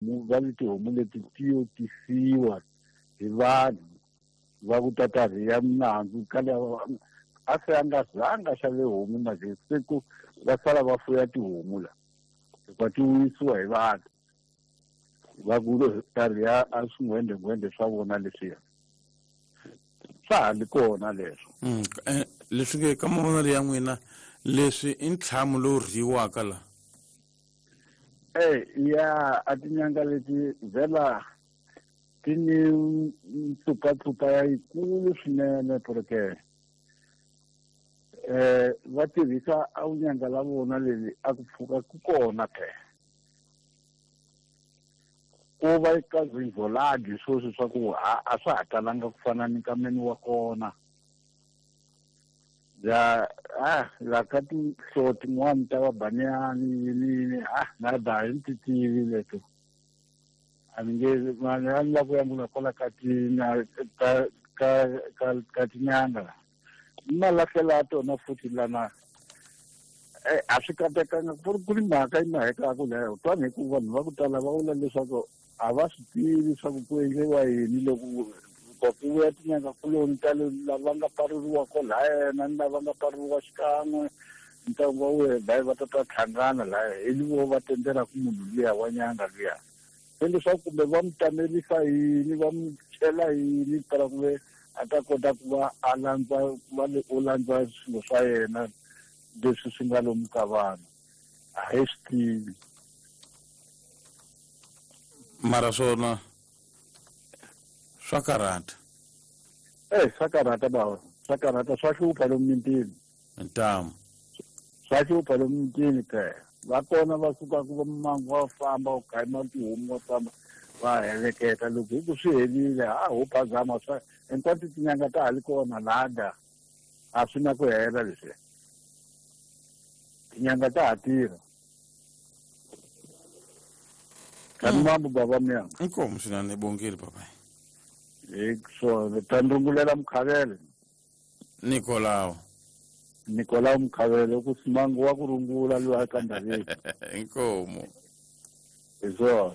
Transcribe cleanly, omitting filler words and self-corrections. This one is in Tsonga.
Va ni tihomu leti ti yo tisiwa hi vanhu va ku ta ta rhiya minandzu ka lava a se a nga zanga xave homu na je se ku va sala va fuya tihomu la hikuva ti wisiwa hi vanhu va ku ta rhiya a swingwendengwende swa vona leswiya swa ha li kona leswo. Leswi ke ka mavonelo ya n'wina leswi i ntlhamu lowu rhiyiwaka la? Ya a tinyanga leti vhela ti ni ntsupatsupa ya yikulu swinene porque va tirhisa a vunyanga la vona leli a ku pfuka ku kona ke ku va ka zinzolagi sweswi swa ku a swa ha talanga ku fana ni nkameni wa kona ya la ka tinhlovo tin'wani ta va baniyani yini yini na da hi ti tivi leto a ni nge mani a ni lava ku ya ngula kwala ka ka ka ka ka tinyanga la ni malahlela ya tona futhi lana a swi katekanga ku ri mhaka yi mahekaku leyo twani hi ku vanhu va ku tala va vula leswaku a va swi tivi swa ku ku endliwa yini loko ku vuya tinyanga kuloni ta lava nga paruriwa kolhayena ni lava nga paruriwa xikan'we ntlangu wa wena layi va ta ta hlangana laya hi vo va tendzelaka munhu luya wa nyanga luya se leswaku kumbe va mu tamelisa yini va mu chela yini tala ku ve a ta kota ku va a landza va le u landza swilo swa yena leswi swi nga lomu ka vanhu a hi swi tivi mara swona swa karhata. Swa karhata bava swa karhata swa hlupha lomu mintini ntamu swa hlupha lomu mintini ke va kona va sukaka va mangu va famba u khayima tihomu va famba va heleketa loko hi ku swi helile ha ho phazama swa hinkwato tinyanga ta ha li kona lada a swi na ku hela leswi tinyanga ta ha tirha kani mambo baba miyanga inkomo swinene bongile baba hi swona ta ndrungulela Mukhavele Nikolao Nikolao Mukhavele ku simangu wa ku rungula loyi a ka ndhaveni inkomo hi swona.